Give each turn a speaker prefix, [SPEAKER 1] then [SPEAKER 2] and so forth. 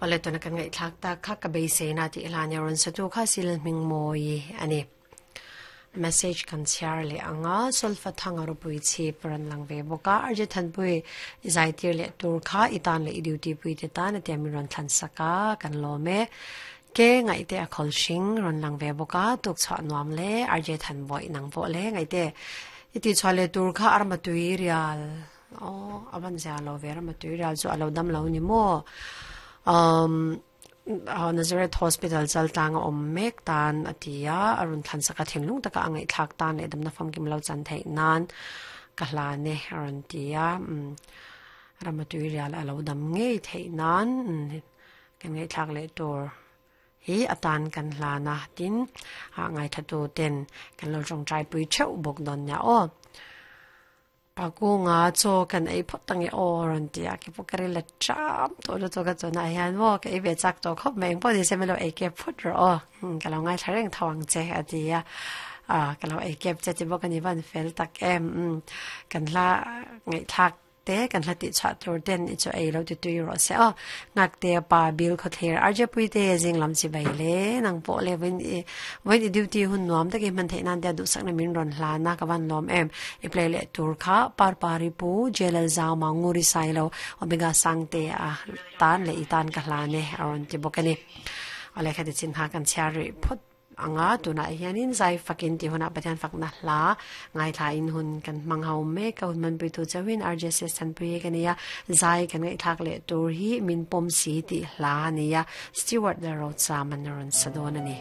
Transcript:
[SPEAKER 1] Awle tuna kan ngaihthlak tak kha ka beiseina tih hlan i rawn satu kha sil hming mawi a ni. Message kan chhiar leh ang a, Solfa thanga ropui chhip rawn lang ve bawk a, RJ Thanpui i zai tir leh tur kha i tan leh i duty pui te tan a tia min rawn thlan sak a, kan lawm e. Ke ngaihte a khawl hring rawn lang ve bawk a, tuk chhuah nuam le, RJ Thanbawi nang pawh le ngaihte i tih chhuah leh tur kha arma tui rial. Aw a van zia lo ve rama tui rial chu a lo dam lo ni maw umm Nazareth Hospital chal tlang a awm mek tan a ti a a rawn thlan sak a thinlung taka a ngaihthlak tan leh damna famkim lo chan theih nan ka hlan e a rawn ti a umm rama tui rial a lo dam ngei theih nan kan ngaihthlak leh tur. Hi atan kan hlan a, tin ah ngaithatu ten kan lo tawngtai pui theuh bawk dawn nia aw. Pakunga chaw kan ei phawt ange aw rawn ti a, keipawh ka ril a cham tawh lutuk a tunah hian maw ka ei ve chak tawh khawp mai engpawh nise min lo ei kep phut rawh aw, ka lo ngaithla reng tho ang che a ti a, ah ka lo ei kep che ti bawk a ni van fel tak em, kan hla ngaihthlak Te kan hla tih chhuah tur ten i chu ei lo ti tui rawh se aw. Ngakte pa Bill Khawthlir RJ Puite zing lam chi bai le nang pawh le vawiin i vawiin i duty hun nuam takin hman theih nan tia duhsakna min rawn hlan a ka van lawm em. I play leh tur kha Parpari Pu Jelal Zauma Nguri Sailo Omega Sangte a tan leh i tan ka hlan e a rawn ti bawk a ni. Awle khati chin kha kan chhiar rih phawt. Anga tunah hianin zai fakin tih hunah Pathian fakna hla ngaithla in hun kan hmang ho mek a, hun hmanpuitu chauhin RJSS Thanpui ka nia, zai kan ngaihthlak leh tur hi min pawm si tih hla a nia, Stewart leh Rocham an rawn sa dawn a ni.